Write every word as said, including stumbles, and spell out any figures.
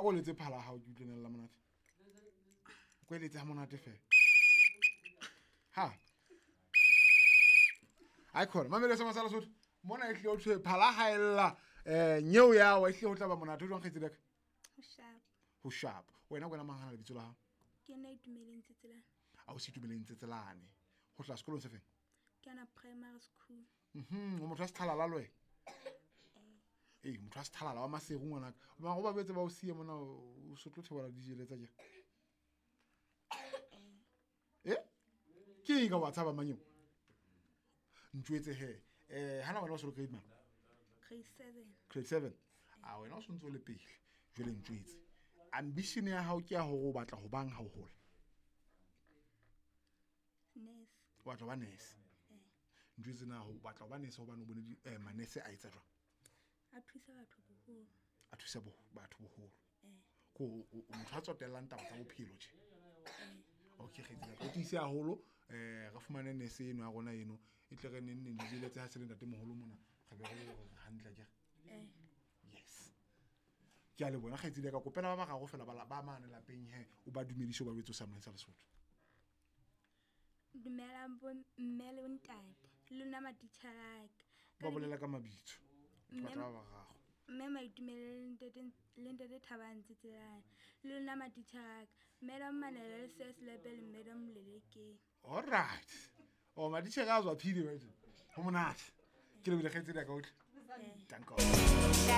ko letse phala ya hao ke utlwenela monate ko eletse ha monate fela ha ai khona mamele se masala sotho mona e tlile ho thwe phala ha ella eh nyeo ya wa e tlile ho tla ba monate o jwang kgaitsedi ya ka Ho sharp. Ho sharp wena kwena mang hana lebitso la hao? Ke nna Itumeleng Tsetselane. A o se Itumeleng Tsetselane ho tla sekolong se feng? Ke ana primary school. Mhm o motho wa sethalala le wena? Ee, motho wa sethalala wa Maseru ngwanaka. Mara o ba betse ba o siye mona o se tlo theola dijele tsa kere. Eh? Ke eng ka wa tshaba manyeo? Ntjwetse he. Eh hana wena o se le grade mang? Grade seven. Grade seven. A wena o sontse o le pele. Jwale ntjwetse. Ambition ya hao ke ya hore o batla ho bang ha o hola? Nurse. O batla ho ba nurse. Ntjwetse na ho batla ho ba nurse hobane o bone di eh manese a etsa jwang? A thusa batho boholo. A thusa bo batho boholo. Eh. Ko o motho a tsotellang taba tsa bophelo tje. Okay kgaitsedi ya ka. O tiise haholo eh re fumane nurse eno ya rona eno e tle re neng neng dijele tse ha se le ntate moholo mona re be re le hore hantle akere. Eh. Yes. Ke a le bona kgaitsedi ya ka kopela ba bararo fela ba la- ba mane lapeng he o ba dumedise o ba jwetse o sa sa Lesotho. Dumelang bo mme le ntate. Le lona matitjhere a ka. Ba bolela ka mabitso. Ke Mme- batla ba bararo. Mme Maitumele le ntate le ntate Thabang Tsetselane. Le lona matitjhere a ka. Madam Manela le Sir Selepe le Madam Lelekeng. All right. Oh matitjhere a tswa phile wena. Ho monate. Ke lebile kgaitsedi ya ka otlhe. Eh. Danko.